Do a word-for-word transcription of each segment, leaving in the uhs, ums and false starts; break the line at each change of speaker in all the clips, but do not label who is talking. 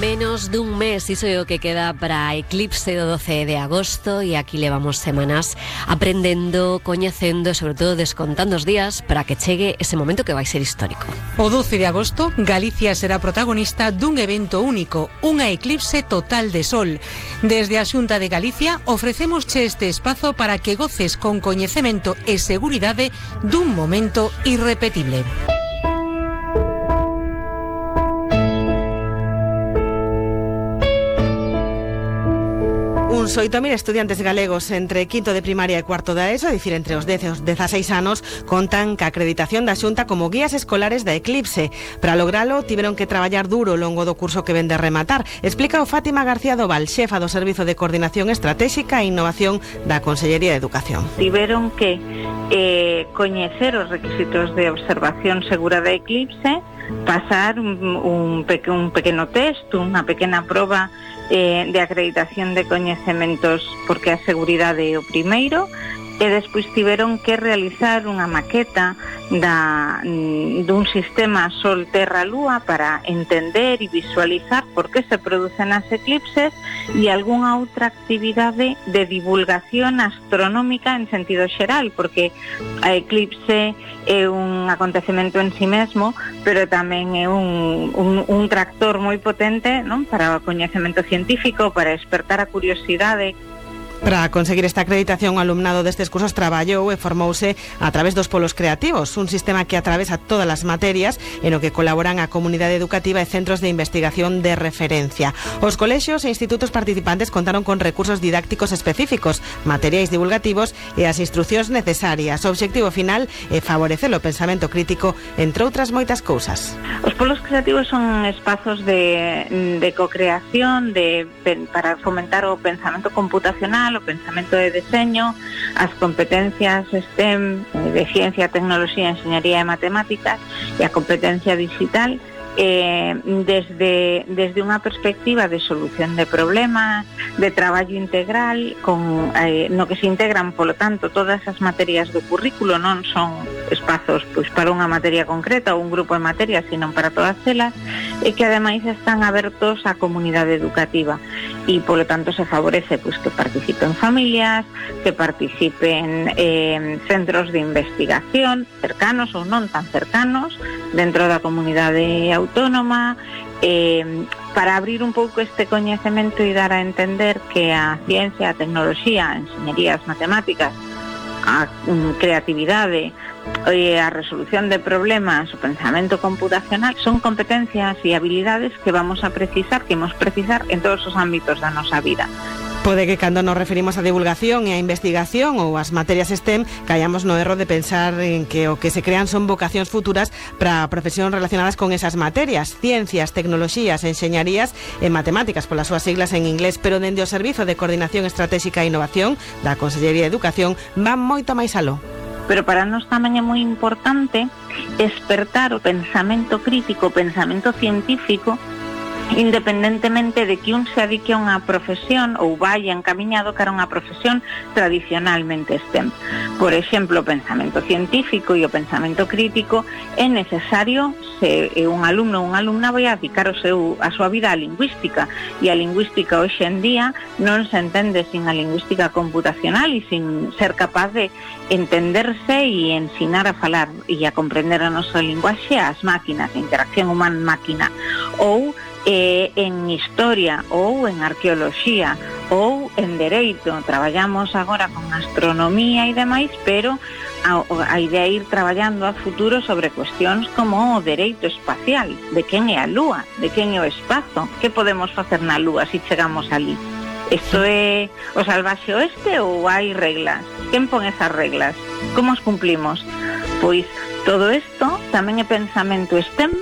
Menos dun mes, iso é o que queda para a eclipse do doce de agosto, e aquí levamos semanas aprendendo, coñecendo e sobre todo descontando os días para que chegue ese momento que vai ser histórico.
O doce de agosto, Galicia será protagonista dun evento único, unha eclipse total de sol. Desde a Xunta de Galicia ofrecémosche este espazo para que goces con coñecemento e seguridade dun momento irrepetible.
Uns oito mil estudiantes galegos entre quinto de primaria e cuarto da ESO, é dicir, entre os dez e os dezaseis anos, contan ca acreditación da Xunta como guías escolares da eclipse. Para logralo, tiveron que traballar duro ao longo do curso que ven de rematar. Explica o Fátima García Doval, xefa do Servizo de Coordinación Estratégica e Innovación da Consellería de Educación.
Tiveron que eh, coñecer os requisitos de observación segura da eclipse, pasar un, un, peque, un pequeno test, unha pequena proba eh, de acreditación de coñecementos, porque a seguridade é o primeiro, e despois tiveron que realizar unha maqueta da, dun sistema Sol-Terra-Lúa para entender e visualizar por que se producen as eclipses e algunha outra actividade de divulgación astronómica en sentido xeral, porque a eclipse é un acontecemento en si mesmo, pero tamén é un, un, un tractor moi potente, non, para o coñecemento científico, para despertar a curiosidade.
Para conseguir esta acreditación, o alumnado destes cursos traballou e formouse a través dos polos creativos, un sistema que atravesa todas as materias e no que colaboran a comunidade educativa e centros de investigación de referencia. Os colexios e institutos participantes contaron con recursos didácticos específicos, materiais divulgativos e as instruccións necesarias. O obxectivo final é favorecer o pensamento crítico, entre outras moitas cousas.
Os polos creativos son espazos de, de co-creación, de, para fomentar o pensamento computacional, o pensamento de deseño, as competencias STEM de ciencia, tecnoloxía, enxeñaría e matemáticas e a competencia digital eh, desde, desde unha perspectiva de solución de problemas, de traballo integral, con, eh, no que se integran, polo tanto, todas as materias do currículo, non son espazos pois, para unha materia concreta ou un grupo de materias, sino para todas elas, e que ademais están abertos á comunidade educativa. E, polo tanto, se favorece pois, que participen familias, que participen eh, centros de investigación cercanos ou non tan cercanos dentro da comunidade autónoma, eh, para abrir un pouco este coñecemento e dar a entender que a ciencia, a tecnoloxía, a enxeñería, as matemáticas, a um, creatividade, e a resolución de problemas, o pensamento computacional son competencias e habilidades que vamos a precisar, que imos precisar en todos os ámbitos da nosa vida.
Pode que cando nos referimos á divulgación e á investigación ou ás materias STEM caíamos no erro de pensar en que o que se crean son vocacións futuras para profesións relacionadas con esas materias, ciencias, tecnoloxías, enxeñarías e matemáticas polas súas siglas en inglés, pero dende o Servizo de Coordinación Estratégica e Innovación da Consellería de Educación van moito máis aló.
Pero para nós tamén é moi importante despertar o pensamento crítico, o pensamento científico, independentemente de que un se adique a unha profesión ou vaya encaminhado cara a unha profesión tradicionalmente STEM. Por exemplo, o pensamento científico e o pensamento crítico é necesario se un alumno ou unha alumna vai a dedicar o seu, a súa vida á lingüística, e a lingüística hoxe en día non se entende sin a lingüística computacional e sin ser capaz de entenderse e ensinar a falar e a comprender a nosa linguaxe ás máquinas, a interacción humana-máquina, ou eh, en historia ou en arqueoloxía ou en dereito. Traballamos agora con astronomía e demais, pero a, a idea é ir traballando a futuro sobre cuestións como o dereito espacial, de quen é a Lúa, de quen é o espazo, que podemos facer na Lúa se chegamos ali. Isto é o salvaxe oeste ou hai reglas? Quen pon esas reglas? Como as cumplimos? Pois todo isto tamén é pensamento STEM,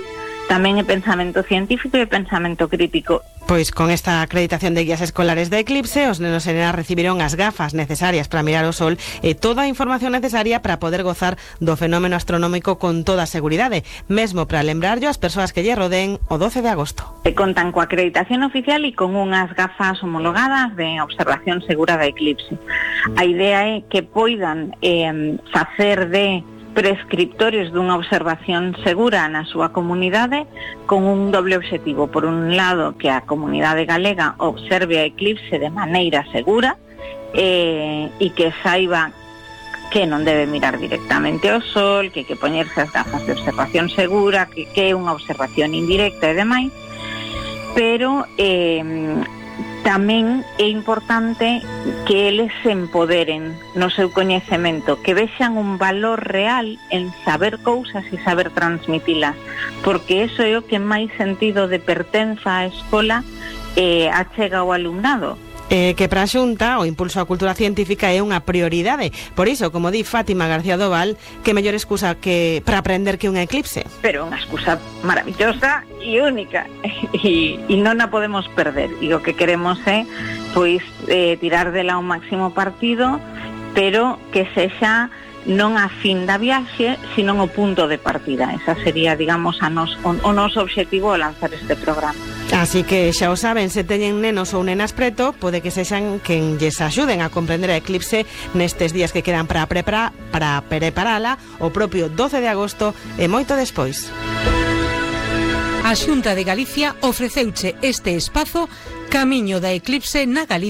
tamén é pensamento científico e pensamento crítico.
Pois con esta acreditación de guías escolares da eclipse, os nenos e nenas recibiron as gafas necesarias para mirar o sol e toda a información necesaria para poder gozar do fenómeno astronómico con toda a seguridade, mesmo para lembrarllo as persoas que lle rodeen o doce de agosto.
E contan coa acreditación oficial e con unhas gafas homologadas de observación segura da eclipse. A idea é que poidan eh, facer de prescriptores dunha observación segura na súa comunidade con un doble obxectivo. Por un lado, que a comunidade galega observe a eclipse de maneira segura eh, e que saiba que non debe mirar directamente ao sol, que hai que poñerse as gafas de observación segura, que, que é unha observación indirecta e demais, pero eh, tamén é importante que eles se empoderen no seu coñecemento, que vexan un valor real en saber cousas e saber transmitilas, porque eso é o que máis sentido de pertenza á escola eh, achega ao alumnado.
Eh, que para a Xunta o impulso á cultura científica é unha prioridade. Por iso, como di Fátima García Doval, que mellor excusa que para aprender que un eclipse.
Pero unha excusa maravillosa e única e, e non a podemos perder, e o que queremos é pois eh, tirar dela un máximo partido, pero que sexa non a fin da viaxe, sino o punto de partida. Esa sería, digamos, a nos, o, o noso obxectivo ao lanzar este programa.
Así que xa o saben, se teñen nenos ou nenas preto, pode que sexan quen lles axuden a comprender a eclipse nestes días que quedan para preparar, para preparala o propio doce de agosto e moito despois.
A Xunta de Galicia ofreceuche este espazo Camiño da Eclipse na Galicia.